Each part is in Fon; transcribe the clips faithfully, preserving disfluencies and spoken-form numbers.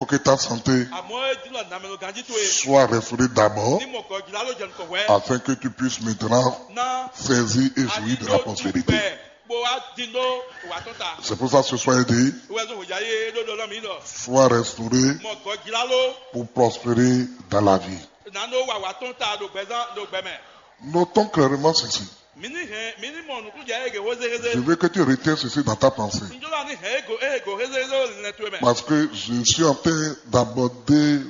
Faut que ta santé Àmọ́ é dín lɔ nǎmɛlɔ ganjí towe. Soit restaurée d'abord, Ní mɔ gɔ̌ jlá ló jɛ nukɔn hwɛ́. Afin que tu puisses maintenant Ná saisir et jouir de la prospérité. Dúpẹ́ bó wá dín dó wà tɔn ta. C'est pour ça ce soir il dit, Wɛ zó hwèjá yé ɖó ɖɔ lɔ mǐ ɖɔ. Soit restauré Mɔ gɔ̌ jlá ló. Pour prospérer dans la vie. Nǎ nɔ wà wà tɔn ta ɖo gbɛzán ɖo gbɛ mɛ. Notons clairement ceci. Mǐ ní hɛn mǐ ní mɔ nǔkúnjɛ ége hwézéhwézé. Je veux que tu retiennes ceci dans ta pensée. Njɔlá ní hɛn égo égo hwézéhwézé lɛ́ towe mɛ. Parce que je suis en train d'aborder,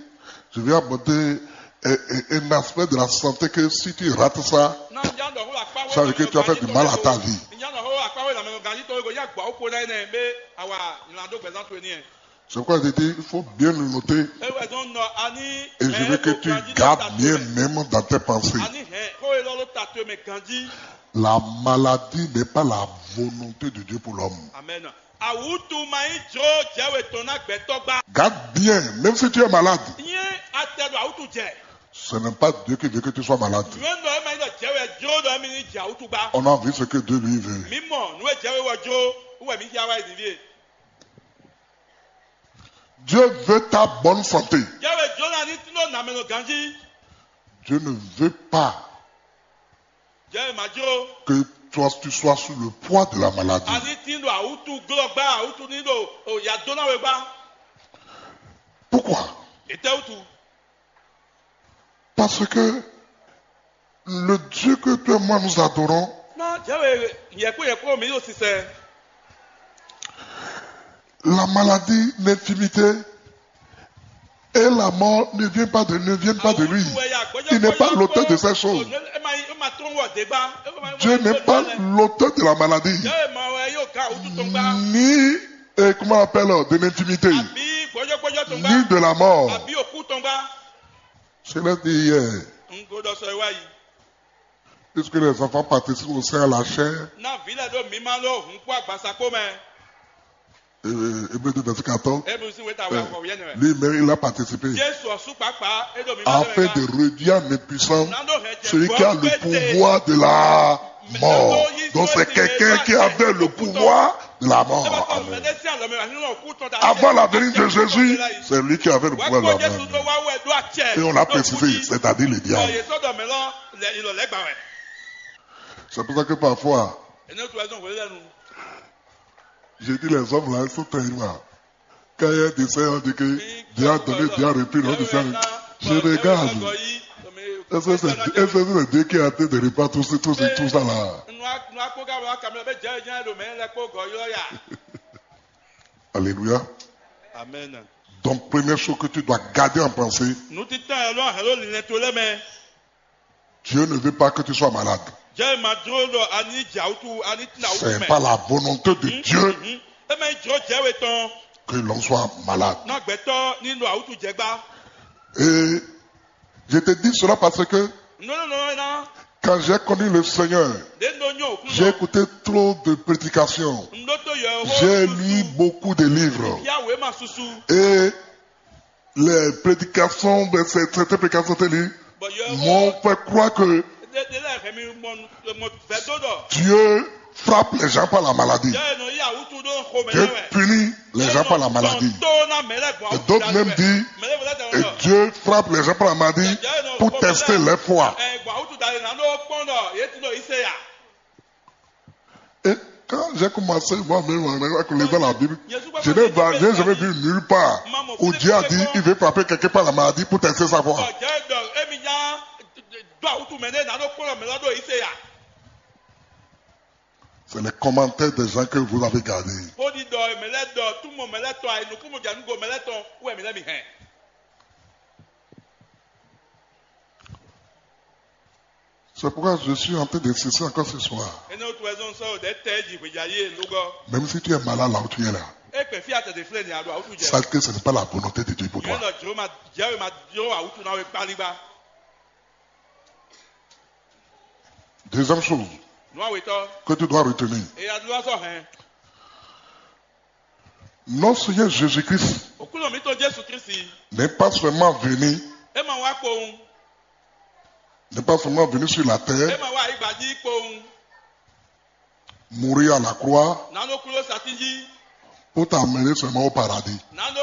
je vais aborder un, un- un aspect de la santé que si tu rates ça, Ná njá ɖɔ hó akpá wé ça veut dire que tu as fait du mal à ta vie. Njá ɖɔ hó akpá wé làmɛ ganjí tɔn égo yá gbɔ ó kpo ná énɛ́ bé awa nylá dó gbɛzán towe ní ɛ. C'est pourquoi je dis, il faut bien le noter. É wɛ zɔn nɔ a ní. Et je veux que tu gardes bien même dans tes pensées. A ní hɛn xó e lɔ ló ta towe mɛ ganjí. La maladie n'est pas la volonté de Dieu pour l'homme. Amen. Awutu ma nyí jló jɛwe tɔn ná gbɛtɔ́ gbá. Garde bien, même si tu es malade. Nyɛ atɛ ɖo awutu jɛ. Ce n'est pas Dieu qui veut que tu sois malade. Nyɛ nɔ ema nyí ɖɔ jɛwe jló ɖɔ emi ní jɛ awutu gbá. On a vu ce que Dieu lui veut. Mi mɔ nú e jɛwe wɔ jló wɛ mi xia wá yi nǐ ɖíe. Dieu veut ta bonne santé. Jɛwe jló ná ní tínú nǎmɛnɔ ganjí. Dieu ne veut pas Jɛwe ma jló. Que toi, tu sois sous le poids de la maladie. A ní tín ɖo awútu glɔ́ gbá awútu ní ɖo o ya dó ná we gbá. Pourquoi? Étɛ́ wútu? Parce que le Dieu que toi et moi nous adorons, Ná jɛwe yɛkpó yɛkpó mi ɖo sisɛ. La maladie, l'infimité et la mort ne viennent pas de, ne viennent pas de lui. Il n'est pas l'auteur de ces choses. Dieu n'est pas l'auteur de la maladie, ni, euh, comment on appelle, de l'infimité. Ni de la mort. Cela dit hier, puisque les enfants participent aussi à la chair, Ná vǐ lɛ́ɛ ɖó mǐmá ɖó hun kpó agbaza kpó mɛ. Euh, Hébreu deux, verset quatorze, Eblu sín wěta wɛ afɔ wěyɛ́nɛ wɛ. Lui-même, il a participé Jésù ɔ́ sú kpákpá é ɖo mǐmá ɖó afin de réduire en impuissance celui qui a le pouvoir de la mort. Donc c'est quelqu'un qui avait le pouvoir de la mort. Amen. Avant la venue de Jésus, c'est lui qui avait le pouvoir de la mort. Et on l'a précisé, c'est-à-dire le diable. C'est pour ça que parfois, je dis, les hommes là, ils sont terribles. Quand il y a des saints, on dit que Dieu a donné, Dieu a repris, on dit ça. Je regarde. Est-ce que c'est, est-ce que c'est Dieu qui a été de repas tout, ce- tout, ce- tout ça là? Alléluia. Amen. Donc, première chose que tu dois garder en pensée, Nǔtítà ɛ lɔ hɛn ló linlɛn to lɛ́ mɛ. Dieu ne veut pas que tu sois malade. Jɛ ma dúró ɖɔ a ní jɛ awútu a ní tín awútu mɛ. C'est pas la volonté de Dieu. Mhm. E ma nyí jló jɛ we tɔn. Que l'on soit malade. Ná gbɛtɔ ní ɖo awútu jɛ gbá. Et je te dis cela parce que Non non non non. Quand j'ai connu le Seigneur, Ɖe ɖo nyɔ òkú j'ai écouté trop de prédications. N ɖó tó yɔ J'ai lu beaucoup de livres. Ya wé ma susu. Et les prédications, ben, c'est- certaines prédications telles, m'ont fait croire que Dieu frappe les gens par la maladie. Dieu punit les gens par la maladie. Et d'autres même disent, et Dieu frappe les gens par la maladie pour tester leur foi. Et quand j'ai commencé moi-même à connaître la Bible, je n'ai pas- j'ai jamais vu nulle part où Dieu a dit il veut frapper quelqu'un par la maladie pour tester sa foi. C'est les commentaires des gens que vous avez gardés. C'est pourquoi je suis en train d'insister encore ce soir. Même si tu es malade là où tu es là, sache que ce n'est pas la volonté de Dieu pour toi. Deuxième chose que tu dois retenir, notre Seigneur Jésus-Christ n'est pas seulement venu, n'est pas seulement venu sur la terre, mourir à la croix, Pour t'amener seulement au paradis. Nando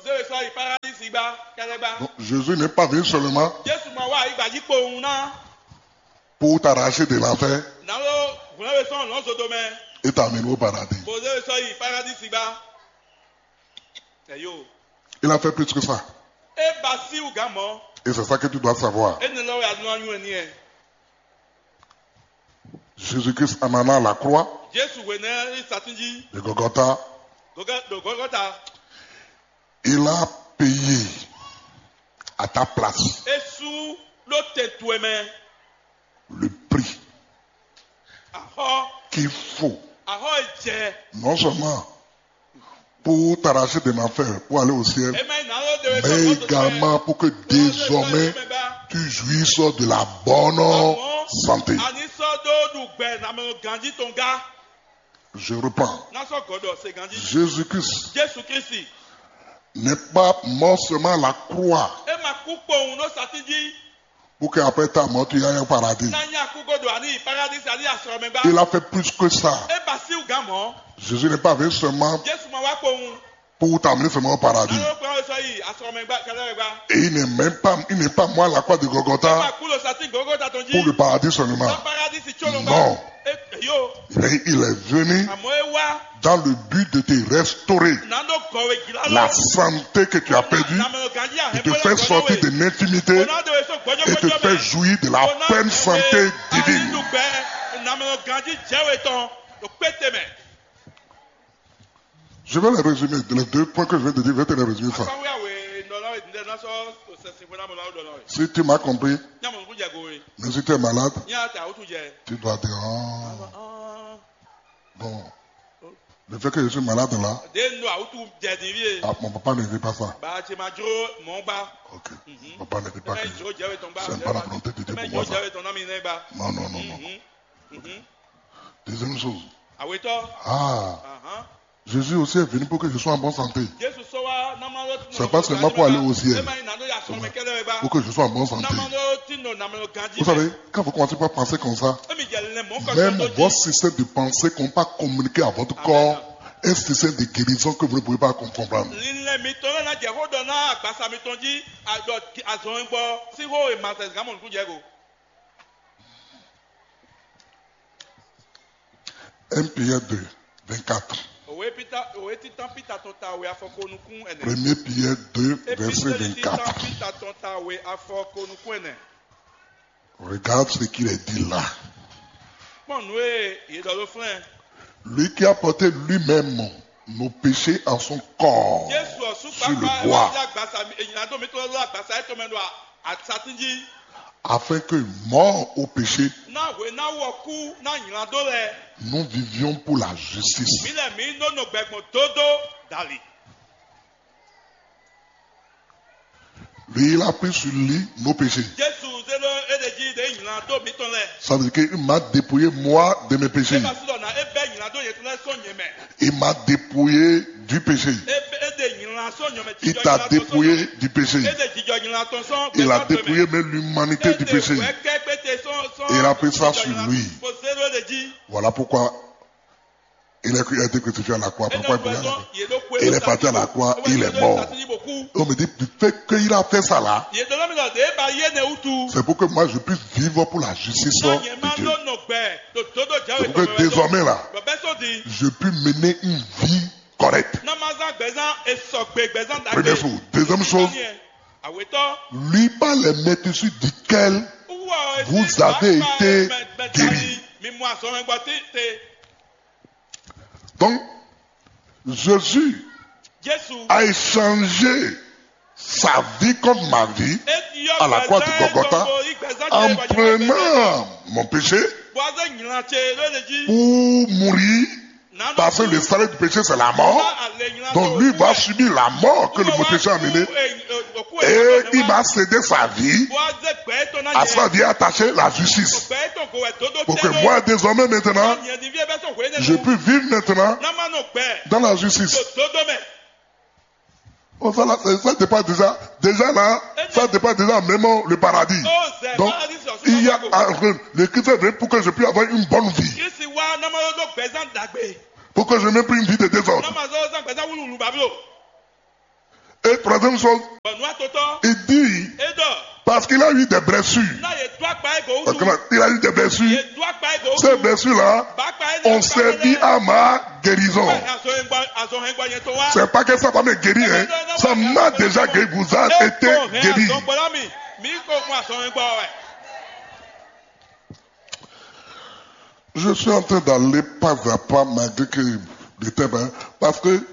zéwe sɔ yi paradisi gba kɛlɛ gba. Donc, Jésus n'est pas venu seulement Jésù ma wá ayigba jí kpowun ná. Pour t'arracher de l'enfer Nando hwlɛnwe sɔn lɔn zodo mɛ. Et t'amener au paradis. Bo zéwe sɔ yi paradisi gba. Eyo. Il a fait plus que ça. E ba si wú gán mɔ. Et c'est ça que tu dois savoir. E ne lɔ ya nɔ anyu ɛ ni ɛ. Jésus-Christ en allant à la croix Jésù wé nɛ yi satin jí. De Golgotha, Gɔgɔ do gɔgɔta. Il a payé à ta place E su ɖo tɛntu ɛ mɛ. Le prix Ahɔ qu'il faut, ahɔ e jɛ. Non seulement pour t'arracher de l'enfer, pour aller au ciel, E ma yi na lo de wɛ mais également pour que désormais tu jouisses de la bonne santé. Ani sɔ do ɖu gbɛ namɛ ganji tɔn ga. Je reprends. Na sɔ gɔdɔ se ganji. Jésus-Christ Jésù Kristi. N'est pas mort seulement à la croix E ma kú kpowun ɖo satin jí. Pour qu'après ta mort, tu ailles au paradis. Na nya kú godo ani paradisi ani asɔrɔmɛgba. Il a fait plus que ça. E ba si wú gán mɔ. Jésus n'est pas venu seulement Jésù ma wá kpowun. Pour t'amener seulement au paradis. Nalo kpɔn sɔ yi asɔrɔmɛgba kɛlɛ gba. Et il n'est même pas, il n'est pas mort à la croix de E Golgotha ma kú lo satin gogo ta tɔn jí. Pour le paradis seulement. Na paradisi tso lo Non. E yo. Mais il est venu Àmọ́ e wá. Dans le but de te restaurer Nando gɔwe gila la santé que tu as perdue et te faire sortir de l'infimité et te faire jouir de la pleine santé divine. Namɛ ganji jɛwe tɔn. O kpete mɛ. Je vais les résumer. Les deux points que je viens de dire, je vais te les résumer ça. Asanwó yàwé nɔlɔ ìdílé náà sọ sẹsìn fún amọ̀lá ọ̀dọ̀ náà. Si tu m'as compris, Ní àmọ̀ nkú jẹ gowe. mais si tu es malade, Ní àtà ó tún jẹ. Tu dois dire, ah, bon, le fait que je suis malade là, Dé nù àwùjọ jẹ ní wíyé. Ah, mon papa ne veut pas ça. Bàá ṣe máa jó mọ́ gbá. Ok. Mon papa ne veut pas que Ẹ jó jẹ́wé tán gbá. c'est pas la volonté de Dieu Ẹ pour jó moi ça. Jẹ́wé tán náà mi náà gbá. Non, non, non, non. Mhm. Deuxième chose. Àwetọ́. Ah, Ahan. Jésus aussi est venu pour que je sois en bonne santé. Jésù sọ wá námá ló. C'est pas seulement pour aller au ciel. Ẹ máa ń nàdó yà sọ̀rọ̀ mi kẹ́lẹ́ rẹ gbá. Pour que je sois en bonne santé. Námá ló tí nù nàmá ló gan jí. Vous savez, quand vous commencez par penser comme ça, Èmi jẹ lẹ mọ́ même kọ́kọ́ votre système de pensée qu'on pas communiquer à votre corps, un système de guérison que vous ne pouvez pas com- comprendre. Lílẹ̀ mi tán lọ́nà jẹ́ kó dọ̀ náà àgbàsá mi tán jí àjọ àzọ̀ ń gbọ́ sí hó ìmọ̀sẹ̀ ìgbàmọ̀ nìkú jẹ́ kó. Un Pierre deux, vingt-quatre. Òwe Pítà òwe títán Pítà tán ta òwe afɔkónukún ẹ̀nẹ́. Premier Pierre deux, verset Épísítẹ́lì títán vingt-quatre. Pítà tán ta òwe afɔkónukún ẹ̀nẹ́. Regarde ce qu'il est dit là. Pọ́n nù é yé dɔ ló flɛ́n. Lui qui a porté lui-même nos péchés en son corps Jésù ọ̀sùn sur le pápá bois, ẹ̀wọ̀n àgbàsá èyàn tó mi tó lọ́wọ́ àgbàsá ẹ̀ tó mẹ́nu àtàtúnjí. Afin que mort au péché, Náà wé náà wọ kú náà yìnlá dó lẹ. Nous vivions pour la justice. Mílẹ̀ mí nɔ́ nɔ gbẹ̀gbọ̀n dódó dàlí. Lui, il a pris sur lui nos péchés. Jésù zé ló éɖe jí ɖe yìnlá dó mítɔn lɛ. Ça veut dire qu'il m'a dépouillé moi de mes péchés. Nígbà tí lọ́nà é bẹ́ yìnlá dó yẹn tó lẹ́ sọ yẹn mɛ. Il m'a dépouillé du péché. É bẹ́ éɖe yìnlá sọ yẹn mɛ. Il t'a dépouillé du péché. Éɖe jíjọ yìnlá tɔn sɔn. Il a dépouillé même l'humanité du péché. Wẹ́ kẹ́ pété sɔn sɔn. Et il a pris ça sur lui. Kò zé ló éɖe jí. Voilà pourquoi il est, il a été crucifié à la croix. Pourquoi il est, Yé ló kú il est parti à la croix, il est mort. On me dit, du fait qu'il a fait ça là, Yé dɔn mi lɔ de ba yé ne wutu. C'est pour que moi je puisse vivre pour la justice Náà yẹn máa de Dieu. ló nɔ gbẹ. Tó tó dó jáwé C'est pour que désormais là, Bɔbɛ sɔ di. Je puis mener une vie correcte. Náà máa zán gbẹ̀zán esɔ̀gbè gbẹ̀zán dàgbé. Première chose. Deuxième chose, Àwetọ́. Lui par les maîtresses duquel vous avez été guéris. Mi mú àsọ̀rọ̀ gbọ́ tí te. Donc, Jésus Jésù. A échangé sa vie contre ma vie à la croix de Golgotha en prenant mon péché Bɔazɛ nyina tse ló le jí. Pour mourir. Parce que le salaire du péché, c'est la mort. Donc lui va subir la mort que le péché a amenée. Et il va céder sa vie. À sa vie attachée, la justice. Pour que moi, désormais, maintenant, je puis vivre maintenant dans la justice. Oh, ça, là, ça, ça dépend déjà. Déjà là, ça dépend déjà même le paradis. Donc, il y a, ah, le Christ est venu pour que je puisse avoir une bonne vie. Pour que je n'ai plus une vie de désordre. Wulu bablo. Et troisième chose, bɔ nǔ atɔtɔ, il dit, é ɖɔ, parce qu'il a eu des blessures. Ná yě dó akpa é gǒ. Parce wusu. Qu'il a eu des blessures. Yě dó akpa é gǒ wusu. Ces blessures-là ont servi à ma guérison. Azɔhɛngbɔ azɔhɛngbɔ yẹn tó wá. C'est pas que ça va me guérir, hein. Ça m'a déjà guéri, vous a été guéri. Azɔngbɔlá mi, mi kò mú azɔhɛngbɔ wɛ. Je suis en train d'aller pas à pas malgré que le thème, hein, parce que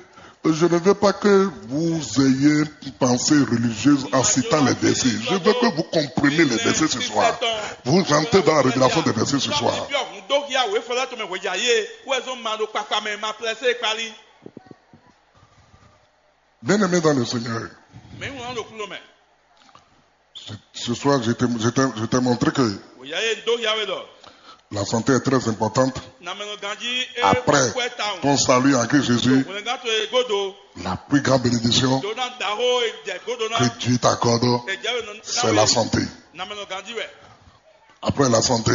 je ne veux pas que vous ayez une pensée religieuse en citant les versets. Je veux que vous compreniez les versets ce soir. Vous entrez dans la révélation des versets ce soir. Bien-aimé dans le Seigneur, ce, ce soir, je t'ai, je t'ai, je t'ai montré que la santé est très importante. Après ton salut en Christ Jésus, la plus grande bénédiction que Dieu t'accorde, c'est la santé. Après la santé,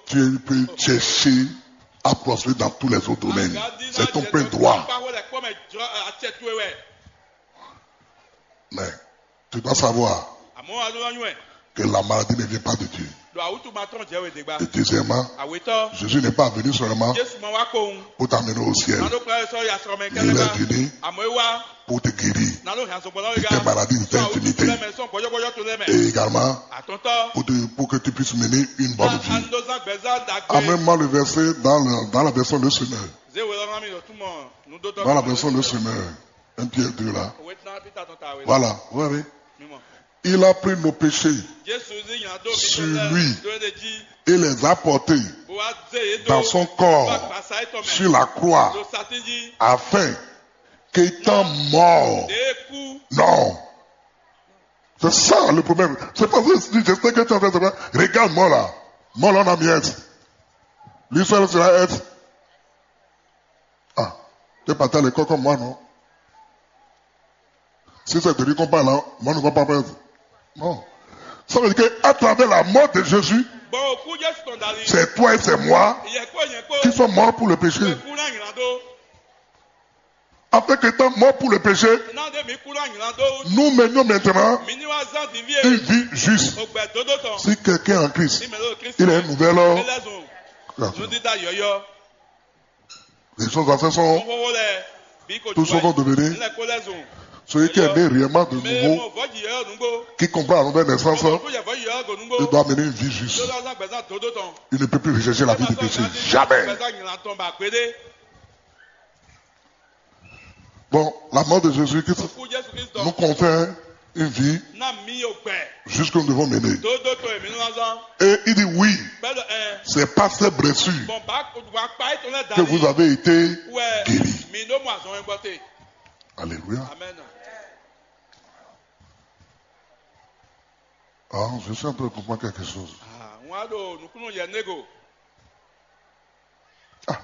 tu peux chercher à prospérer dans tous les autres domaines. C'est ton plein droit. Mais tu dois savoir que la maladie ne vient pas de Dieu. Et deuxièmement, Jésus n'est pas venu seulement pour t'amener au ciel. Il est venu pour te guérir de tes maladies, de tes infirmités. Et également, pour, te- pour que tu puisses mener une bonne vie. Amène-moi le verset dans, le- dans la version Le Semeur. Dans la version Le Semeur. Un Pierre deux là. Voilà, vous voyez. Il a pris nos péchés sur lui et les a portés dans son corps sur la croix, afin qu'étant mort, non. C'est ça le problème. C'est parce que si je sais que tu es en train de dire, regarde-moi là. Moi là, on a miette. Lui seul sera être. Ah, t'es parti à l'école comme moi, non? Si c'est de lui qu'on parle, hein, moi, je ne comprends pas. Non. Ça veut dire qu'à travers la mort de Jésus, c'est toi et c'est moi qui sommes morts pour le péché. Afin qu'étant mort pour le péché, nous menions maintenant une vie juste. Si quelqu'un est en Christ, il est un nouvel homme. Les choses anciennes sont, tout ce qu'on devenait. Celui qui est né réellement de nouveau, qui comprend la nouvelle naissance, il doit mener une vie juste. Il ne peut plus rechercher la vie de péché. Jamais. Bon, la mort de Jésus-Christ nous confère une vie jusque nous devons mener. Et il dit oui, c'est par ses blessures que vous avez été guéris. Alléluia. Ah, je suis en train de comprendre quelque chose. Ah,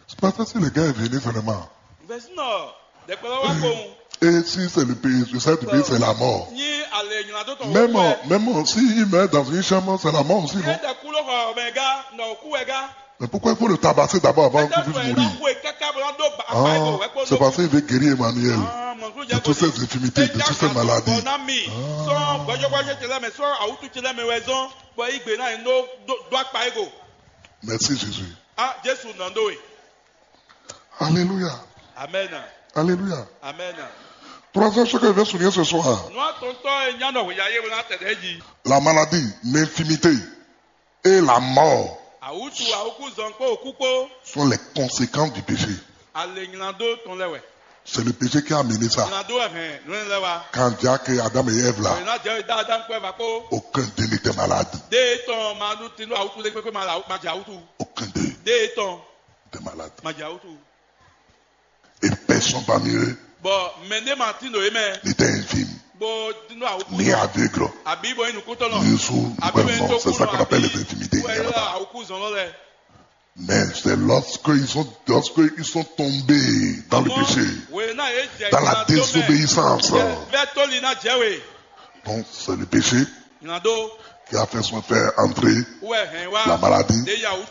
c'est parce que si le gars est venu seulement. Et si c'est le pays, je sais du pays, c'est la mort. Même, même s'il meurt dans une chambre, c'est la mort aussi, non? Mais pourquoi il faut le tabasser d'abord avant qu'il puisse mourir? Ah, c'est parce qu'il veut guérir Emmanuel de toutes ses infirmités, de toutes ses maladies. Merci Jésus. Ah, Jésus nɔ ɖó we. Alléluia. Amen. Alléluia. Amen. Troisième chose que je vais souligner ce soir. Nua tɔntɔ e nya nɔ hweya ye wena tɛdɛ ji. La maladie, l'infirmité et la mort. Awutu awuku zɔn kpo òkú kpo. Sont les conséquences du péché. Ale nylando tɔn lɛ wɛ. C'est le péché qui a amené ça. Nylando wɛ hɛn nulɛ lɛ wa. Quand Dieu a créé Adam et Ève là, Oyina jɛ da Adam kpɛ va kpo. Aucun d'eux n'était malade. De tɔn ma nu tinu awutu le kpekpe ma la ma jɛ awutu. Aucun d'eux. De tɔn. T'es malade. Ma jɛ awutu. Et personne parmi eux. Bɔ mɛ ne ma tinu ye mɛ. N'était infirme. Bɔ tinu awuku. Ni aveugle. Abi bɔ inu kutɔ nɔ. Ni sourd, ni muet, non, c'est ça qu'on appelle les infirmités. Wɛ yɔ awuku zɔn lɔ lɛ. Mais c'est lorsque ils sont, lorsque ils sont tombés dans le péché, dans la désobéissance, donc c'est le péché qui a fait son faire entrer la maladie,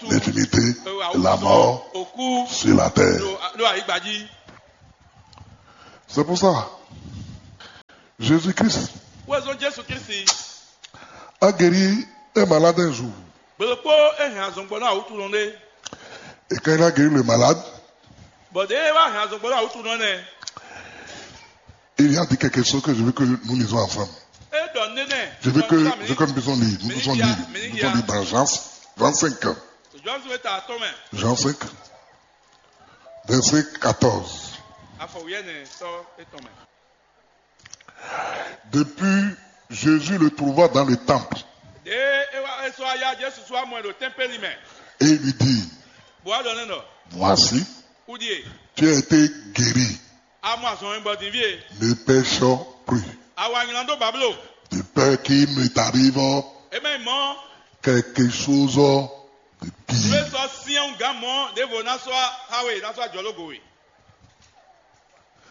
l'infirmité, la mort sur la terre. C'est pour ça, Jésus-Christ Wezɔn Jesu Kristi. a guéri un malade un jour. Gbe ɖokpó é hɛn azɔn gbɔ ná awǔtunɔ ɖé. Et quand il a guéri le malade, Bɔ ɖě é wá hɛn azɔn gbɔ ná awǔtunɔ nɛ́. il a dit quelque chose que je veux que nous lisons ensemble. É ɖɔ nénɛ. Je veux que, je veux que nous puissions lire. Nous puissions lire. Nous puissions lire dans Jean vingt-cinq. Jɔn zun eta atɔn mɛ. Jean cinq, verset quatorze. Afɔ wíyɛ́nɛ sɔ́ étɔn mɛ. Depuis, Jésus le trouva dans le temple. Ɖě é wá é sɔ́ wá yá Jesu sɔ́ wá mɔ ɛ ɖo tɛ́npɛ́li mɛ. Et il lui dit, Bó wá ɖɔ nɛ́ ɖɔ: Voici, Kúɖíe, tu as été guéri. A mɔ azɔn e gbɔ din fí e. Ne pêche plus. A wa nylá dó Bablo. De peur qu'il ne t'arrive É mɛ mɔ quelque chose de nú é pire. Sɔ́ syɛ́n gán mɔ ɖěvo ná sɔ́ xá we ná sɔ́ ajɔ̌lógo we.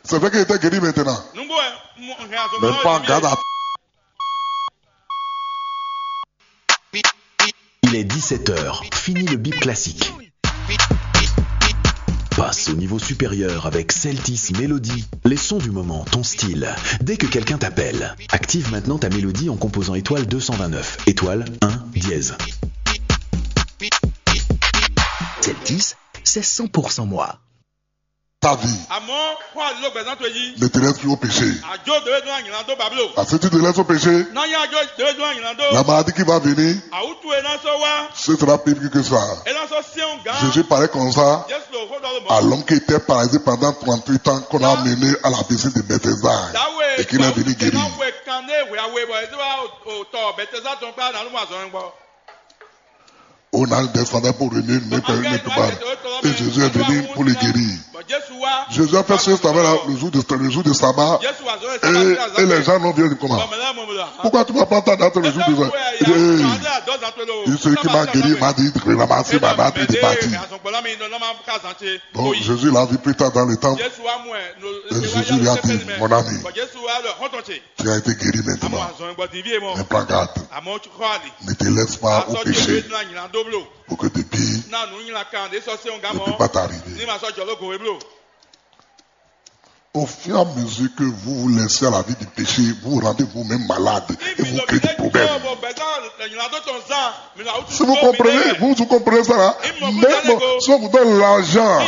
C'est vrai qu'il était guéri maintenant. Nǔgbó ɛ mo hɛn azɔn Mais pas en garde à Il est dix-sept heures. Fini le bip classique. Passe au niveau supérieur avec Celtis Melody. Les sons du moment, ton style. Dès que quelqu'un t'appelle, active maintenant ta mélodie en composant étoile deux cent vingt-neuf, étoile un dièse. Celtis, c'est cent pour cent moi. Ta vie. Àmọ́ kó àdúgbò gbẹ̀sán tó yí. Ne te laisse plus au péché. Àjọ dèwé dún àyìnlá dó Bablo. Parce que si tu te laisses au péché, Náà yá àjọ dèwé dún àyìnlá dó. La maladie qui va venir, Àwùjọ ẹ̀ náà sọ wá. Ce sera pire que ça. Ẹ náà sọ Siɔn gán. Jésus parlait comme ça Jésù ló xó dɔ́ ló mọ́. À l'homme qui était paralysé pendant trente-huit ans, qu'on a amené à la piscine de Bethesda et qu'il est venu guéri. Náà wé kan ní ìwé àwé bọ̀ ẹ̀ tó wá òtọ̀ Bethesda tán gbá nàánú mọ̀ àzọ́ ẹ̀ ń gbọ́. On a descendu pour remuer une main, une main. Et Jésus est venu pour le guérir. Jésus a fait ce travail-là le jour de, le jour de sabbat. Et, et les gens n'ont vu comment. Pourquoi tu vas prendre ta date le jour de sabbat? Il dit, hey, celui qui m'a guéri m'a dit de ramasser ma natte et de partir. Donc Jésus l'a vu plus tard dans le temple. Et Jésus lui a dit, mon ami, tu as été guéri maintenant. Ne prends garde. Ne te laisse pas au péché pour que depuis ne puisse pas t'arriver. Au fur et à mesure que vous vous laissez à la vie du péché, vous vous rendez vous-même malade et vous créez des problèmes. Si vous comprenez, vous, vous comprenez ça là, même si on vous donne l'argent,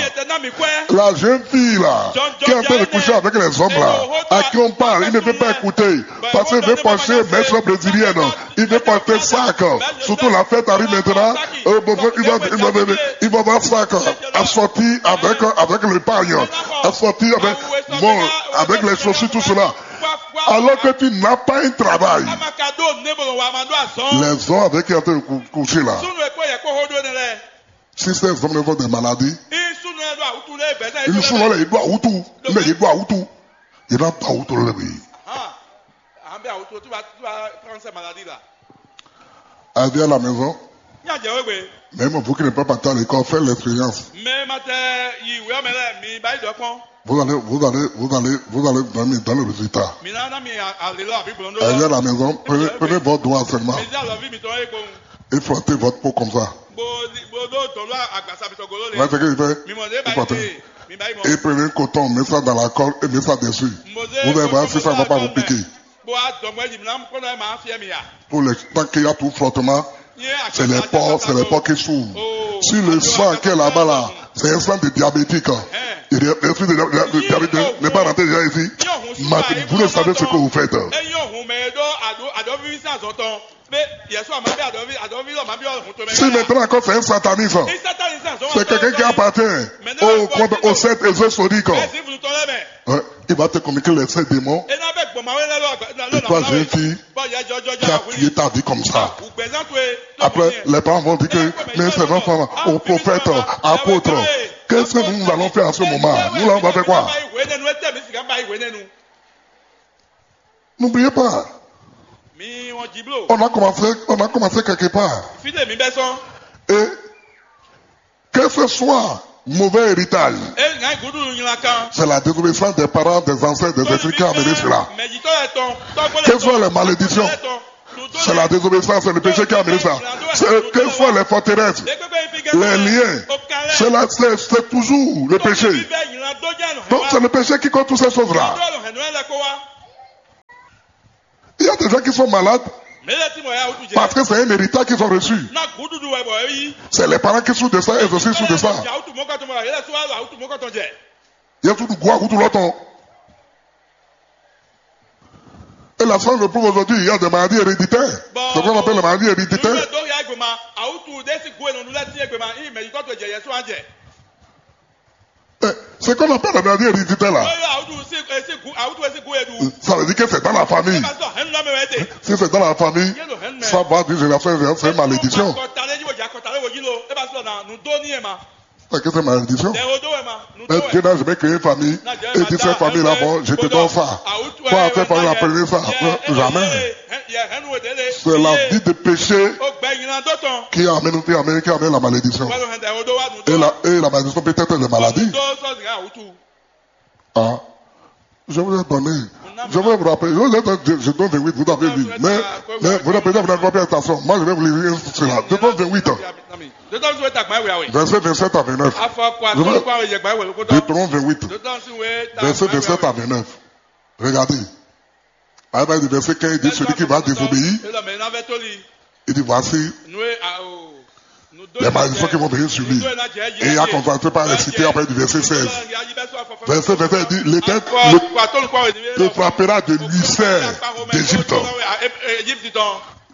la jeune fille là, qui est en train de coucher avec les hommes là, à qui on parle, il ne veut pas écouter. Parce qu'il veut penser, mais sur brésilienne, il veut porter sac. Surtout la fête arrive maintenant. Euh, bon, il va, il va, il va avoir sac. Assorti avec, avec l'épargne. Assorti avec, bon, avec les chaussures, tout cela. Alors que tu n'as pas un travail. Les hommes avec qui tu es en train de cou-, coucher là. Si ces hommes sont des maladies, ils sont là, ils doivent tout. Mais ils doivent tout. Ils doivent tout. Arrivé à la maison, même vous qui n'êtes pas parti à l'école, faites l'expérience. Mɛ ma tɛ yi wɛ mɛ lɛ mi ba yi dɔ kpɔn. Vous allez, vous allez, vous allez, vous allez dormir dans le résultat. Mi na na mi a- ale lɔ abi gblɔn do. Arrivé à la maison, prenez, prenez votre doigt seulement Mi di alɔvi mi tɔn ye kpɔn. Et frottez votre peau comme ça. Bo bo do tɔn lɔ agbasa mi tɔ golo le. Vous voyez ce qu'il fait? Mi mɔ de Il ba frotte. Yi mi ba yi mɔ. Et prenez un coton, mettez ça dans la colle et mettez ça dessus. Vous allez voir si ça ne va pas vous piquer. Bó a dɔn gbɛ́ yìí ná kó náà máa fi ẹ̀mí yá. Pour le temps qu'il y a tout frottement, c'est les pores, c'est les pores qui s'ouvrent. Si le sang qui est là-bas là, c'est un sang de diabétique. Et le, le sang de, de, de diabétique n'est pas rentré déjà ici. Vous ne savez ce que vous faites. Si maintenant encore c'est un sataniste, c'est quelqu'un qui appartient au, au secte ésotérique. Ouais, il va te communiquer les sept démons. Et toi, jeune fille, tu as tué ta vie comme ça. Après, les parents vont dire que, mais ces enfants, au prophète, apôtre, qu'est-ce que nous, nous allons faire à ce moment? Nous, là, on va faire quoi? N'oubliez pas, on a commencé, on a commencé quelque part. Et que ce soit mauvais héritage, c'est la désobéissance des parents, des ancêtres, des esprits qui a amené cela. Que ce soit les malédictions, C'est la désobéissance, c'est le péché qui a amené ça. C'est que soit les forteresses, les liens, c'est la- c'est c'est toujours le péché. Donc c'est le péché qui cause toutes ces choses-là. Il y a des gens qui sont malades parce que c'est un héritage qu'ils ont reçu. C'est les parents qui souffrent de ça, et aussi souffrent de ça. Il y a tout le goût à tout l'autre. Et la science le prouve aujourd'hui, il y a des maladies héréditaires. C'est ce qu'on appelle les maladies héréditaires. C'est ce qu'on appelle la maladie héréditaire là. Ça veut dire que c'est dans la famille. Si c'est dans la famille, ça va d'une génération en génération, c'est une malédiction. C'est que c'est malédiction. Mais Dieu n'a jamais créé une famille et dit cette famille-là, bon, je te donne ça. Quoi, cette famille-là, prenez ça. Non, jamais. C'est la vie de péché qui amène, qui amène, qui amène la malédiction. Et la, et la malédiction peut être la maladie. Ah, je vous ai donné. Je vais vous rappeler. Je vous ai donné, je, je donne vingt-huit, vous avez lu. Mais, mais vous n'avez pas fait attention. Moi, je vais vous lire cela. Je donne vingt-huit ans. Verset vingt-sept à vingt-neuf. Je vais Deutéronome vingt-huit. Verset vingt-sept à vingt-neuf. Regardez. Par exemple, le verset quinze dit, celui qui va désobéir, il dit, voici les malédictions qui vont venir sur lui. Et il a commencé par réciter après du verset seize. Verset vingt-sept dit, l'Éternel te frappera de l'ulcère d'Égypte.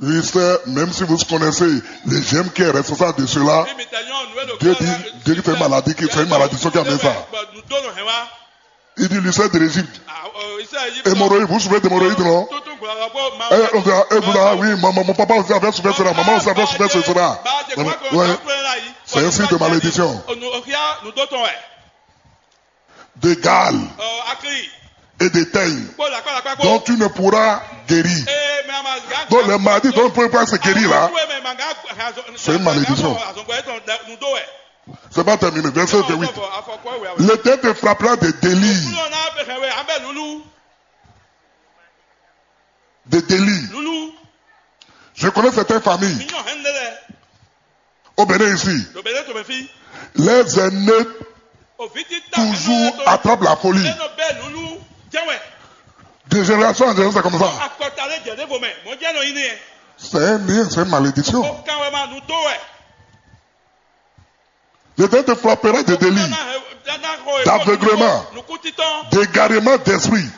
L'ulcère, même si vous connaissez le germe qui est responsable de cela, Dieu dit, Dieu dit c'est une maladie, c'est une malédiction qui amène ça. Il dit l'ulcère de l'Égypte. Hémorroïde, vous souffrez d'hémorroïde, non? Eh, on dit, eh, vous, ah oui, mon, mon, mon papa aussi avait souffert cela, maman aussi avait souffert cela. Ouais. C'est un signe de malédiction. De gale et de teigne dont tu ne pourras guérir. Donc les maladies dont tu ne peux pas se guérir là, c'est une malédiction. C'est pas terminé. Verset vingt-huit. L'Éternel te frappera de délire. De délire. Je connais certaines familles au Bénin ici. Les aînés toujours attrapent la folie. De génération en génération, c'est comme ça. C'est un lien, c'est une malédiction. L'Éternel te frappera de délire, d'aveuglement, d'égarement d'esprit.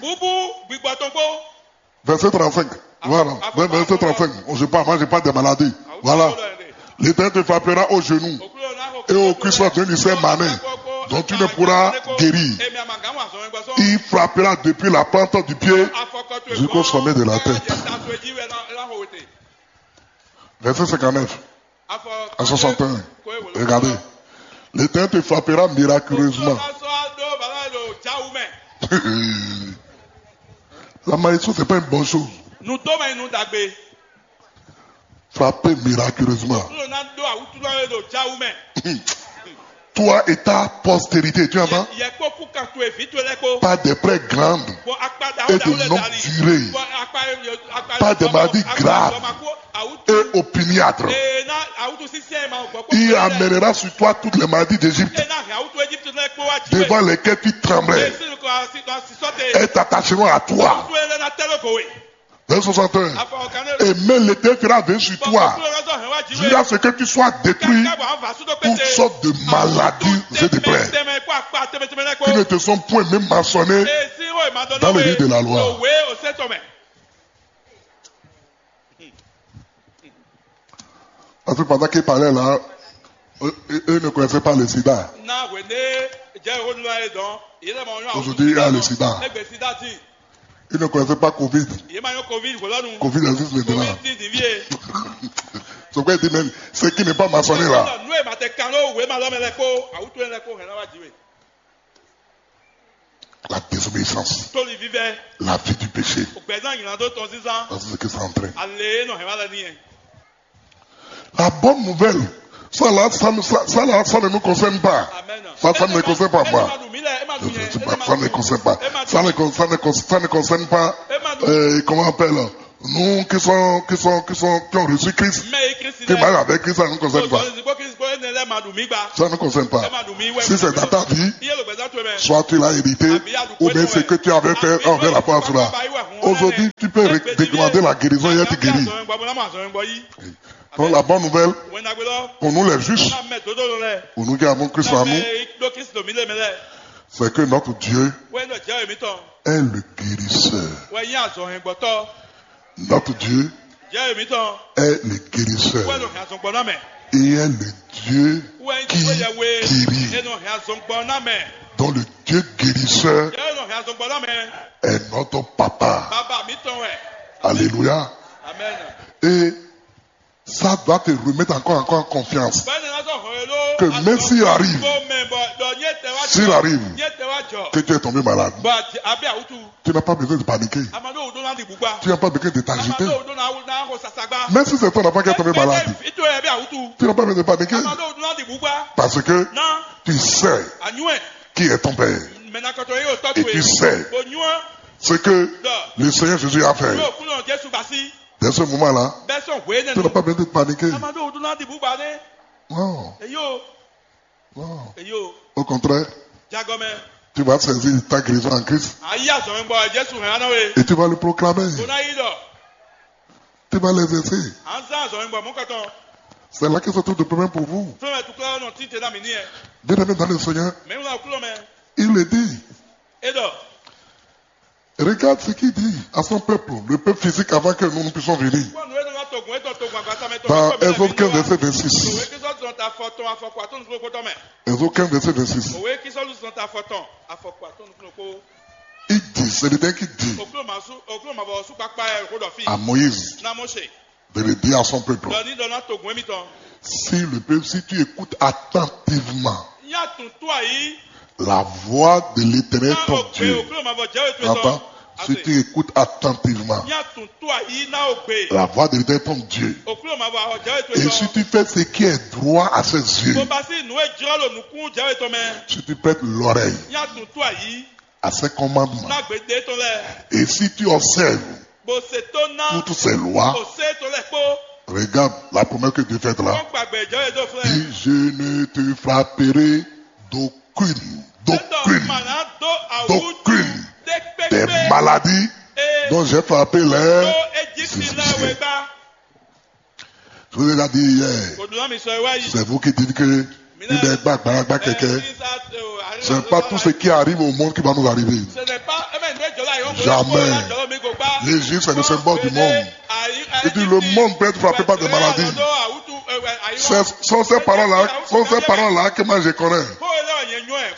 Verset trente-cinq. Voilà. Verset trente-cinq. Je parle, moi, je parle des maladies. Voilà. L'Éternel te frappera au genou et aux cuisses d'une ulcère manin dont tu ne pourras guérir. Il frappera depuis la plante du pied jusqu'au sommet de la tête. Verset cinquante-neuf à soixante et un. Regardez. L'Éternel te frappera miraculeusement. La malédiction, c'est pas une bonne chose. Frappé miraculeusement. Toi et ta postérité, tu entends? Par des plaies grandes et de longue durée, par des maladies graves et opiniâtres. Il amènera sur toi toutes les maladies d'Égypte, devant lesquelles tu tremblais. Elles t'attacheront à toi. Verset soixante et un. Et même l'Éternel fera venir sur toi, jusqu'à ce que tu sois détruit, toutes sortes de maladies et de plaies qui ne te sont point même mentionnées dans le livre de la loi. Parce que pendant qu'il parlait là, eux, eux ne connaissaient pas le sida. Aujourd'hui, il y a le sida. Ils ne connaissaient pas covid. Covid existe maintenant. C'est pourquoi il dit même, ce qui n'est pas mentionné là, la désobéissance, la vie du péché. Parce que c'est ce que ça entraîne. La bonne nouvelle, ça là, ça, ne- ça, ça là, ça ne nous concerne pas. Ça, ça ne me concerne pas, moi. Je- je- je- ça ne me concerne pas. Ça ne, con- ça ne, con- ça ne concerne pas, euh, comment on appelle, Nous qui sommes, qui sont, qui sont, qui ont reçu Christ, mɛ yi Kristi qui marchent avec Christ, ça ne nous concerne pas. Kristi kó Kristi kó énɛ́ lɛ́ɛ ma ɖu mí gba. Ça ne nous concerne pas. Ɛ ma ɖu mí wɛ. Si c'est dans ta vie, iye ló gbɛzán towe mɛ. Soit tu l'as hérité, ou bien ce que tu avais fait envers la foi cela. Aujourd'hui, tu peux demander la guérison et être guéri. Donc la bonne nouvelle pour nous les justes, pour nous qui avons Christ en nous, c'est que notre Dieu est le guérisseur. Notre Dieu est le guérisseur. Et est le Dieu qui guérit. Donc le Dieu guérisseur est notre papa. Alléluia. Et ça doit te remettre encore, encore en confiance. Que même s'il arrive, s'il arrive que tu es tombé malade, tu n'as pas besoin de paniquer. Tu n'as pas besoin de t'agiter. Même si c'est ton enfant qui est tombé malade, tu n'as pas besoin de paniquer. Parce que tu sais qui est ton père. Et tu sais ce que le Seigneur Jésus a fait. Dès ce moment-là, tu n'as pas besoin de paniquer. Non. Non. Au contraire, tu vas saisir ta guérison en Christ et tu vas le proclamer. Tu vas l'exercer. C'est là que se trouve le problème pour vous. Bien-aimé dans le Seigneur, il le dit. Regarde ce qu'il dit à son peuple, le peuple physique, avant que nous ne puissions venir. Dans Exode quinze, verset vingt-six. Exode quinze, verset vingt-six. Il dit, c'est l'Éternel qui dit à Moïse de le dire à son peuple. Si le peuple, si tu écoutes attentivement la voix de l'Éternel ton Dieu, attends, si tu écoutes attentivement la voix de l'Éternel ton Dieu, et si tu fais ce qui est droit à ses yeux, si tu prêtes l'oreille à ses commandements, et si tu observes toutes ces lois, regarde la promesse que Dieu fait là. Dit, je ne te frapperai d'aucune, d'aucune d'aucune des maladies dont j'ai frappé les Égyptiens. Je vous ai déjà dit hier, c'est vous qui dites que il est gbagbalagba keke. Ce n'est pas tout ce qui arrive au monde qui va nous arriver. Jamais. L'Égypte, c'est le symbole du monde. Il dit, le monde peut être frappé par des maladies. Ce sont ces parents-là, sont ces parents-là que moi je connais.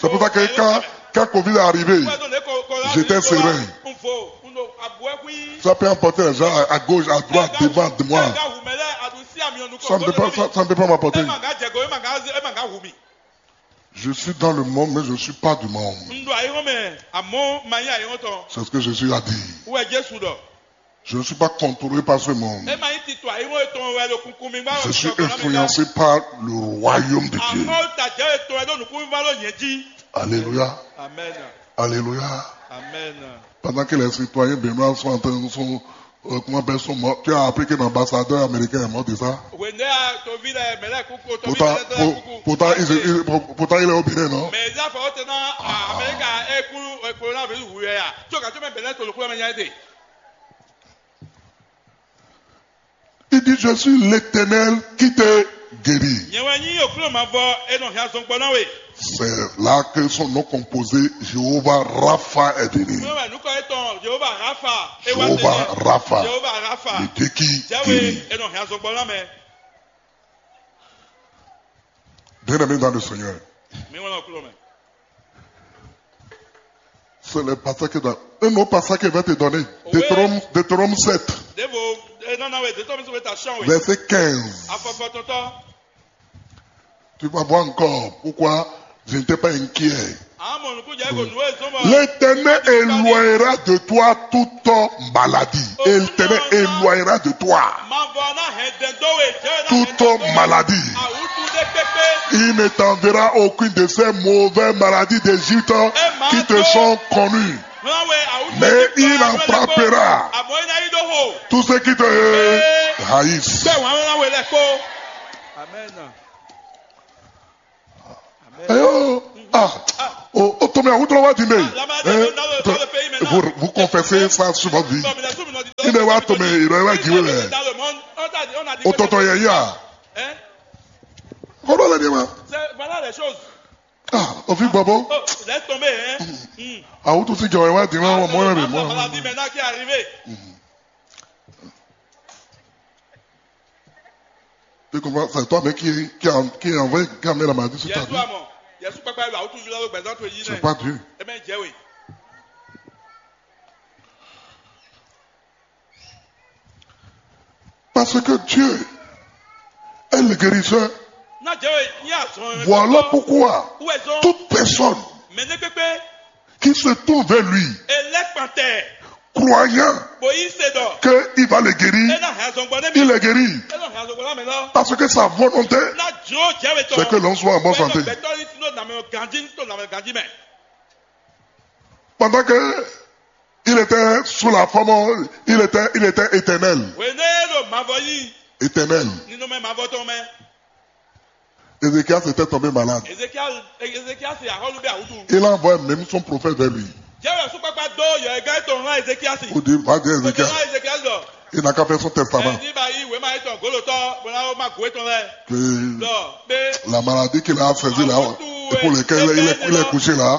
C'est pour ça que quand, quand covid est arrivé, j'étais serein. Ça peut emporter les gens à, à gauche, à droite, devant, de moi. Ça ne peut pas, ça, ça ne peut pas m'emporter. Je suis dans le monde, mais je ne suis pas du monde. C'est ce que Jésus a dit. Je ne suis pas contrôlé par ce monde. Je suis influencé par le royaume de Dieu. Alléluia. Alléluia. Pendant que les citoyens béninois sont en train de, sont, euh, comment appelle, sont morts, tu as appris que l'ambassadeur américain est mort de ça. Pourtant, pourtant, il, il- pour- pourtant, il est au Bénin, non? Il dit, je suis l'Éternel qui te guérit. Nyɛ wɛ nyí Oklúnɔ mavɔ e nɔ hɛn azɔn gbɔ ná we. C'est là que son nom composé, Jéhovah Rapha, est venu. Oklúnɔ wɛ nukɔ etɔn Jehova Rafa. E wá Jéhovah tɛnɛ. Rapha, Jehova Rafa. Le Dieu qui Jɛwe guérit. E nɔ hɛn azɔn gbɔ ná mɛ. Bien-aimé dans le Seigneur, Mi ŋlɔ Oklúnɔ mɛ. C'est le passage que dans un autre passage qu'il va te donner. Oui. Deutéronome, Deutéronome sept, Devo e nana we Deutéronome sɔgbe ta sɔn we. Verset quinze. Afɔfɔtɔtɔ. Tu vas voir encore pourquoi je n'étais pas inquiet. Amɔ nukun jɛ ko nu e zɔn bɔ. L'Éternel éloignera de toi toute maladie. L'Éternel éloignera de toi toute maladie. Il ne t'enverra aucune de ces mauvaises maladies d'Égypte qui te sont connues. Mais il en frappera Tous ceux qui te haïssent. Bẹ́ẹ̀ wọ́n á wé lẹ́kọ́. Amen. Amen. Ayo, ah, o, o tɔmɛ awutɔ wa di mɛ. Vous, vous confessez ça souvent dit. Il me wa tɔmɛ, il me wa giwe mɛ. O tɔtɔ yɛ ya. Hein? Kɔdɔ lɛ ni ma. C'est, voilà les choses. Ah, o fi bɔbɔ. Oh, laisse tomber, hein. Hmm. Awutɔ si jɔ wa di mɛ, mɔ mɔ mɛ. Maintenant, voilà, dis maintenant qui est arrivé. Tu comprends? C'est toi-même qui, qui a, qui a envoyé, qui a mis la maladie sur ta vie. Yɛsu amɔ, Yɛsu kpakpa yɛ awutɔ jula ló gbɛzán to yi nɛ. C'est pas Dieu. Eme jɛ we. Parce que Dieu est le guérisseur. Na jɛ we, ní azɔn. Voilà pourquoi toute personne mɛ ne kpekpe qui se tourne vers lui, e lɛ kpantɛ, croyant, bo yi se dɔ, qu'il va le guérir, e na hɛn azɔn gbɔ ne mi, il est guéri. E na hɛn azɔn gbɔ na mɛ lɔ. Parce que sa volonté, na jo jɛ we tɔ, c'est que l'homme soit en bonne santé. Gbɛtɔ ni tino na mɛ ganji, tino na mɛ ganji mɛ. Pendant que il était sous la forme, il était, il était éternel. Wene ɖo mavɔ yi. Éternel. Ninɔmɛ mavɔ tɔn mɛ. Ézéchias était tombé malade. Ezekiel, Ezekiel se ahɔlu bɛ awutu. Il a envoyé même son prophète vers lui. Jɛwɛ sukpakpa dó yɔ ega etɔn hã Ezekiel si. Pour dire, va dire Ézéchiel. Ega Ezekiel dɔ. Il n'a qu'à faire son testament. Ɛ ní ba yi wema etɔn golotɔ bɔla o ma go etɔn lɛ. Que la maladie qu'il a saisi là, et pour laquelle il est, il est couché là,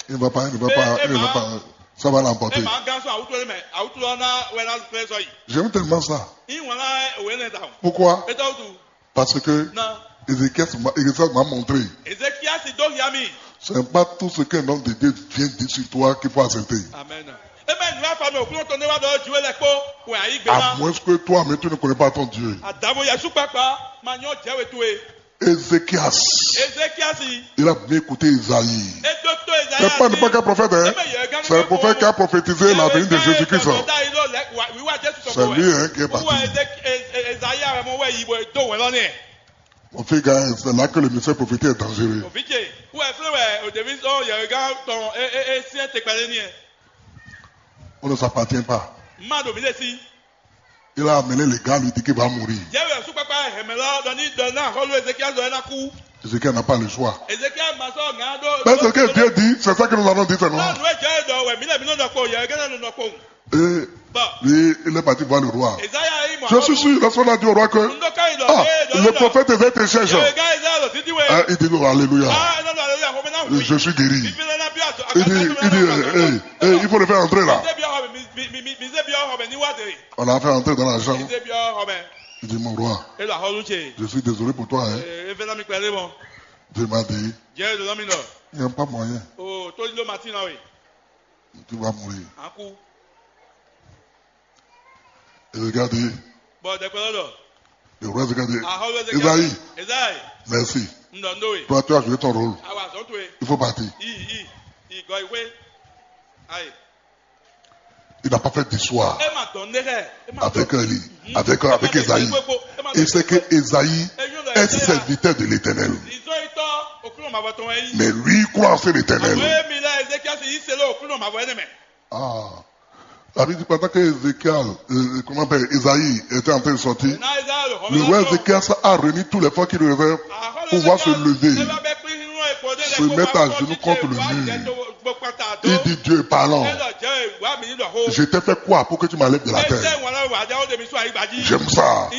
il ne va pas, il ne va pas, il ne va pas. Ça va l'emporter. J'aime tellement ça. Pourquoi? Parce que Ézéchias m'a, Ézéchias m'a montré. Ezekiel si dó hiami. Ce n'est pas tout ce qu'un homme de Dieu vient dire sur toi qu'il faut accepter. Amen. Eme nǔ afa mɛ òkúnɔ tɔn ne wá ɖɔ jiwé lɛ kpó wɛ ayǐ gbé ná. À moins que toi-même tu ne connais pas ton Dieu. Adavo Yesu kpakpa ma nyɔ jɛwe towe. Ézéchias. Ezekiel si. Il a bien écouté Isaïe. Edo to Isaïe. C'est pas n'importe quel prophète, hein. C'est le prophète qui a prophétisé la venue de Jésus-Christ. C'est lui, hein, qui est parti. Isaïe a mɔ wɛ yi bɔ do wɛ lɔ nɛ. Mon fils, gars, c'est là que le mystère prophétique est dangereux. Òfíje, who est free wɛ òdèmí sọ yẹ̀rẹ̀gá tɔn é é é syɛ́n tɛkpɛlẹ́ ní ẹ. On ne s'appartient pas. Má ɖo mí lè sí. Il a amené les gars, lui dit qu'il va mourir. Yẹ́wò ẹ̀sùn pápá hẹ̀mẹ́ lọ lọ ní dọ̀ náà hɔlú Ezekiel dọ̀ ẹ́ ná kú. Ézéchiel n'a pas le choix. Ezekiel ma sọ ŋà dó. Mais ce que Dieu dit, c'est ça que nous allons dire seulement. Náà nù ẹ́ jẹ́ dọ̀ wẹ̀ mí lẹ̀ mí ló nọ kpó yẹ̀rẹ̀gá náà ló nọ kpó. Et lui, il est parti voir le roi. Je suis sûr, lorsqu'on a dit au roi que, ah, le prophète Ézéchiel cherche, hein, il dit, oh, alléluia, je suis guéri. Il dit, il dit, eh, eh, eh, il faut le faire entrer là. On l'a fait entrer dans la chambre. Il dit, mon roi, je suis désolé pour toi, hein. Dieu m'a dit, il n'y a pas moyen. Tu vas mourir. Ézéchiel dit, bɔ dɛkpɛlɔ dɔ. Le roi Ézéchiel dit, ahɔlu Ezekiel, Isaïe, Isaïe, merci. Ndɔ ndo we. Toi, tu as joué ton rôle. Awa zɔn to ye. Il faut partir. I i i gɔ iwe. Ayi. Il n'a pas fait d'histoire. E ma dɔn ne kɛ. Avec lui, avec, avec Isaïe. Et c'est que Isaïe est serviteur de l'Éternel. Izɔ itɔ okunu ma bɔ tɔn yi. Mais lui, il croit en cet Éternel. Awo emi la Ezekiel si yi se le okunu ma bɔ ene mɛ. Ah. La Bible dit pendant que Ézéchiel, euh, comment on appelle, Isaïe était en train de sortir, le roi Ézéchias a réuni tous les forces qui lui restaient pour pouvoir se lever, se mettre à genoux contre le mur. Il dit, Dieu parlant, je t'ai fait quoi pour que tu m'enlèves de la terre? J'aime ça.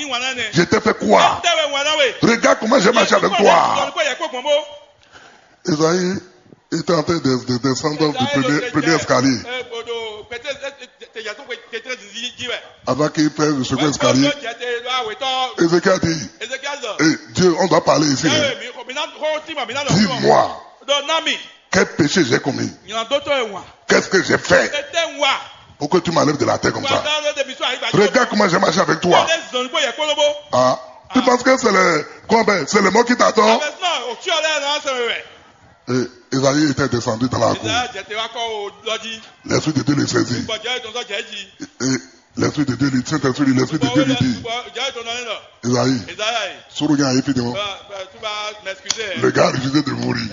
Je t'ai fait quoi? Regarde comment j'ai marché avec toi. Isaïe était en train de, de descendre du premier, premier escalier. Avant qu'il pèse le second escalier, Ézéchiel dit, eh, Dieu, on doit parler ici, hein. Dis-moi, quel péché j'ai commis? Qu'est-ce que j'ai fait pour que tu m'enlèves de la terre comme ça? Regarde comment j'ai marché avec toi. Ah, tu penses que c'est le, comment, c'est le mot qui t'attend? Et Isaïe était descendu dans la cour. L'Esprit de Dieu le saisit. Et l'Esprit de Dieu lui, Saint-Esprit lui, l'Esprit de Dieu lui dit, Isaïe, Soronya est fini. Le gars a refusé de mourir.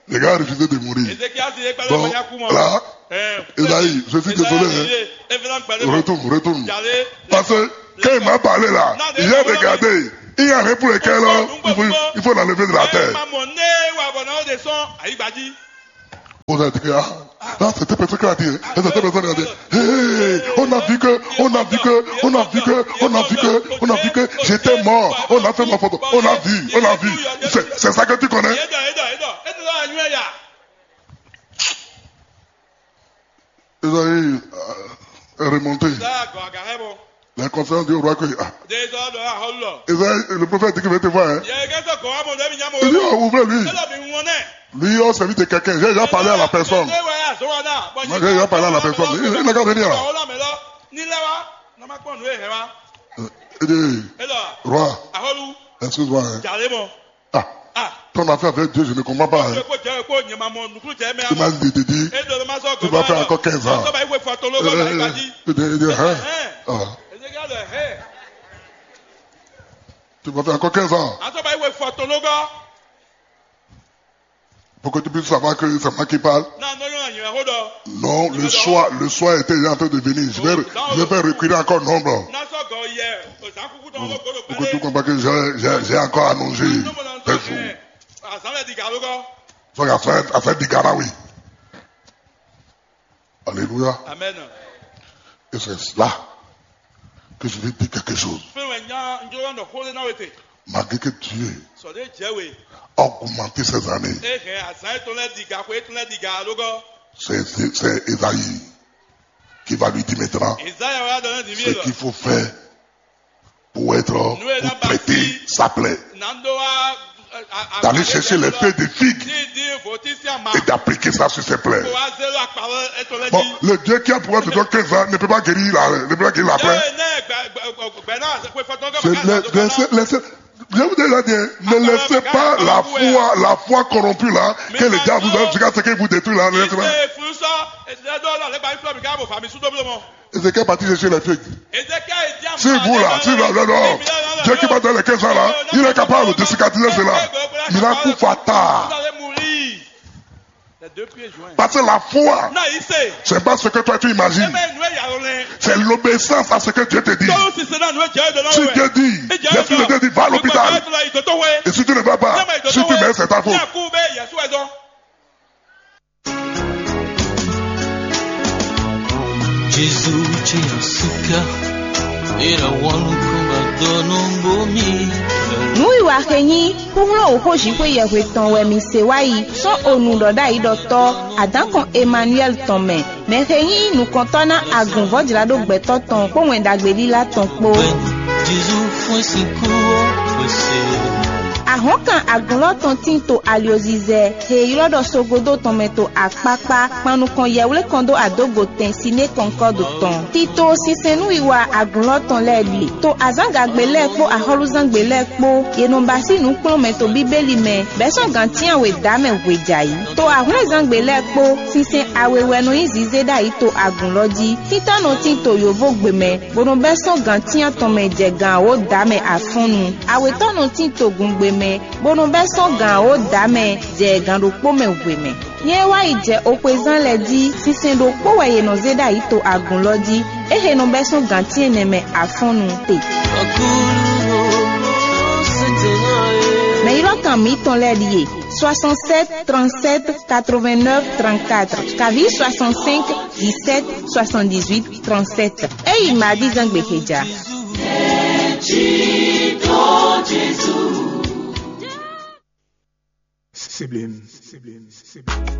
Le gars a refusé de mourir. Ézéchias yé gbɛdɔ Donc, manya kú mɔ. Là, Esaïe, je suis désolé, hein. Retourne, retourne. Parce que quand il m'a parlé là, il a regardé. Il n'y a rien pour le cœur là. Il faut, il faut l'enlever de la terre. Mamɔ ne wa bɔ na o de sɔn ayi gbaji. Vous avez dit que, ah, là, c'était personne qui a dit, hein. C'était personne qui a dit, hey, on a vu que, on a vu que, on a vu que, on a vu que, on a vu que j'étais mort. On a fait ma photo. On a vu, on a vu. C'est, c'est ça que tu connais? Esaïe, euh, est remonté. La conférence du roi que, ah. Esaïe, le prophète dit qu'il veut te voir, hein. Il dit, oh, ouvrez-lui. Lui, on servit de quelqu'un. J'ai déjà parlé à la personne. Moi, j'ai déjà parlé à la personne. Il, il n'a qu'à venir là. Euh, Il dit, roi, excuse-moi, hein. Ah, ton affaire avec Dieu, je ne comprends pas, hein. Tu m'as dit, tu dis, tu vas faire encore quinze ans. Euh, il dit, il dit, hein? Ah. Tu vas faire encore quinze ans. Pour que tu puisses savoir que c'est moi qui parle. Non, le soir, le soir était déjà en train de venir. Je vais, je vais reculer encore nombre. Pour que tu comprennes que j'ai, j'ai, j'ai encore allongé tes jours. Donc, affaire, affaire d'Igara, oui. Alléluia. Amen. Et c'est là que je vais dire quelque chose. Fɛn wɛ nya n jɔ nɔ xó lé na wete. Malgré que Dieu Sɔde jɛ we. A augmenté ses années, E hɛn azan etɔn lɛ diga xwe etɔn lɛ diga alogɔ. C'est, c'est, c'est Esaïe qui va lui dire maintenant Ezaya wa dɔ ne di mi ce qu'il faut faire pour être, pour traiter sa plaie. D'aller chercher les feuilles de figue Et d'appliquer ça sur ses plaies. Bon, le Dieu qui a pouvoir de donner quinze ans ne peut pas guérir la, ne peut pas guérir la plaie. C'est le, le, le, le, je vous ai déjà dit, hein, ne laissez pas la foi, la foi corrompue là, que le diable vous a jusqu'à ce qu'il vous détruit là, ne laissez pas. Ézéchiel est parti chercher les feuilles. Si vous là, si là, là, là, Dieu qui va dans les quinze ans là, il est capable de cicatriser cela. Il a coup fatal. Parce que la foi, c'est pas ce que toi tu imagines. C'est l'obéissance à ce que Dieu te dit. Si Dieu dit, l'Esprit de Dieu dit, va à l'hôpital. Et si tu ne vas pas, si tu meurs, c'est ta faute. Jezu ce asika, ira wanu kumba dono bomi. Nǔwiwa xe nyí xúxlɔ́ wǒxo Jǐxwé yɛhwe tɔn wɛ mi se wá yi sɔ́ onu ɖɔ ɖ'ayǐ ɖɔ tɔ́ adǎnkɔn Emanuwɛ́li tɔn mɛ, mɛ xe nyí nukɔntɔ́ ná agun vɔ̌jlǎɖó gbɛtɔ́ tɔn kpó Wɛn Ɖagbe lílá tɔn kpó. Jezu fún sinkú ɔ́ xwese. Ahɔ̌nkan agunlɔ́ tɔn tín to alyozizɛ he e ylɔ́ ɖɔ Sogodó tɔn mɛ to akpákpá kpan nukɔn yɛwlékɔn dó adógo tɛn Siné Kɔnkɔ́du tɔn. Tito sinsɛn nú wiwa agunlɔ́ tɔn lɛ́ɛ ɖíe. To azǎngagbe lɛ́ɛ kpó axɔ́lúzángbe lɛ́ɛ kpó, yě nɔ ba sín nǔkplɔ́nmɛ to Bíbélí mɛ, bɛ́ sɔ́ gǎn cyán we dǎ mɛ hwejǎyi. To ahwlɛ́nzángbe lɛ́ɛ kpó, sinsɛn awe wɛ nɔ nyí zizé ɖ'ayǐ to agunlɔ́ jí. Títá nɔ tín to yǒvógbe mɛ, bó nɔ bɛ́ sɔ́ gǎn cyán tɔn mɛ jɛ gǎn wǒ dǎ mɛ afɔ́nnu. Awětɔ́ nɔ tín to gungbe mɛ, bó nɔ bɛ́ sɔ́ gǎn wǒ dǎ mɛ jɛ gǎn ɖokpó mɛ hwe mɛ. Nyɛ e wá yi jɛ oxwezán lɛ́ɛ jí, sinsɛn ɖokpó wɛ yě nɔ zé ɖ'ayǐ to agun lɔ jí, é he nɔ bɛ́ sɔ́ gǎn cyɛ́nnɛ mɛ afɔ́nnu te. Mɛ ylɔ́kan mǐtɔn lɛ́ɛ ɖíe: soixante-sept trente-sept quatre-vingt-neuf trente-quatre, kaví soixante-cinq dix-sept soixante-dix-huit trente-sept. Ényí Madi zán gbe xeja. Sibling, sibling, sibling.